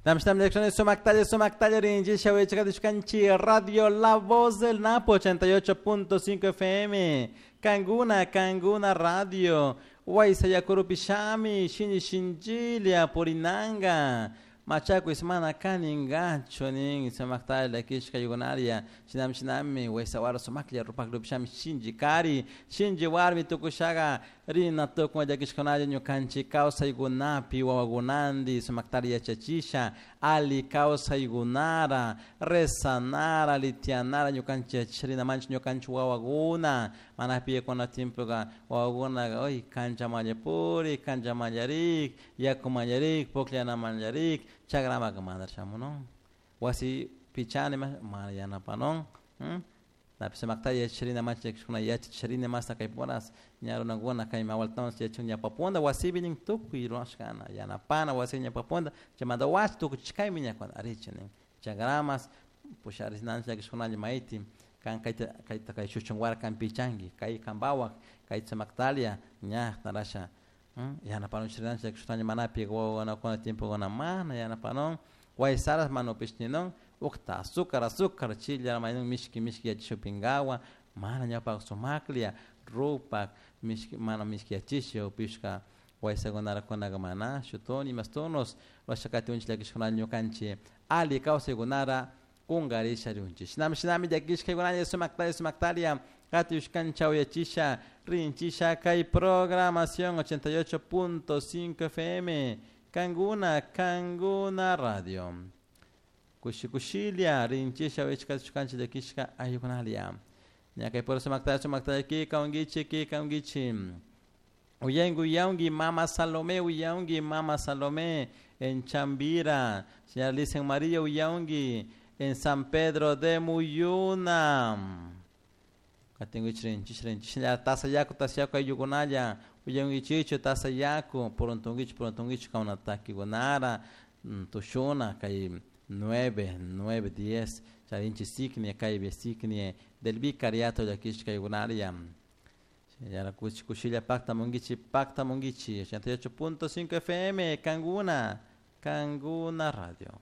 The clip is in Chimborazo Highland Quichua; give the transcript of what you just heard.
Sumaktalla, sumaktalla rinchisha wichakatishkanchi Radio La Voz del Napo 88.5 FM. Kanguna, Kanguna Radio. Waysayakurupishami, shini shinchilia purinanga. Machakuis mana kaningachu nin sumaktalla kishka yugunaria shinami shinami waysawara sumaklla rupakrupishami shinchi kari shinchi warmi tukushaga rina tukun llakishkunalla ñukanchik kawsaykunapi wawakunanti sumaktalla yachachisha ali kawsaykunara rezanara litianara ñukanchik yachachisha manchik ñukanchik wawakuna mana piyakuna tiempoka wawakunaka uy kanchamalla purik kanchamalla yakumanllarik pukllanamanllarik chakramaka mana shamunun wasi pichani mana yanapanun Napi sumakta yachachisharina manchik llakishkuna yachachisharina masta kay puras ña runakuna kay mawaltawan yachun ñawpapunda wasipi nin tukuy rurashkana yanapana wasi ñawpapunda chaymanta wasi tukuchishkaymi ñakuna arichi nin chakramas pusharishnanchik llakishkunalla mayti kan kayta kayta kay shuchunwara kan pichanki kay kampawak kay sumaktalia ña tarasha yanapanunchik llakishkunalla manapi wawakuna tiempokuna mana yanapanun waysaras mana upishninun ukta azúcar azúcar chilla maynun mishki mishki yachishupinkawa mana ñawpak sumaklla rupak mishki mana mishki yachisha upishka waysakunara kunaka mana shutuni imastunos rurashakatiunchik llakishkunalla ñukanchik ali kawsaykunara kunkarisha rinchik shinami shinami llakishkaykunalla sumaktalla sumaktalla katiyushkancha uyachisha rinchisha kay programación 88.5 FM Kanguna Kanguna Radio. Kushi kushilla rinchisha uyachikatishkanchik llakishka ayukunalla ña kay pura sumaktalla sumaktalla kika unkichik kika unkichik uyanki uyanki mama Salomé uyanki mama Salomé en Chambira. Señora Licen María uyanki en San Pedro de Muyuna. Katinkichik rinchish rinchish tasayaku tasayaku ayllukunalla uyankichichu tasayaku puruntunkichik puruntunkichik kawna takikunara tushuna kay 9, 9, 10 charinchik sikni kay sikni del vicariato llakishka aykunaria Yara kushi kushilla paktamunkichik paktamunkichik 88.5 FM Kanguna Kanguna Radio.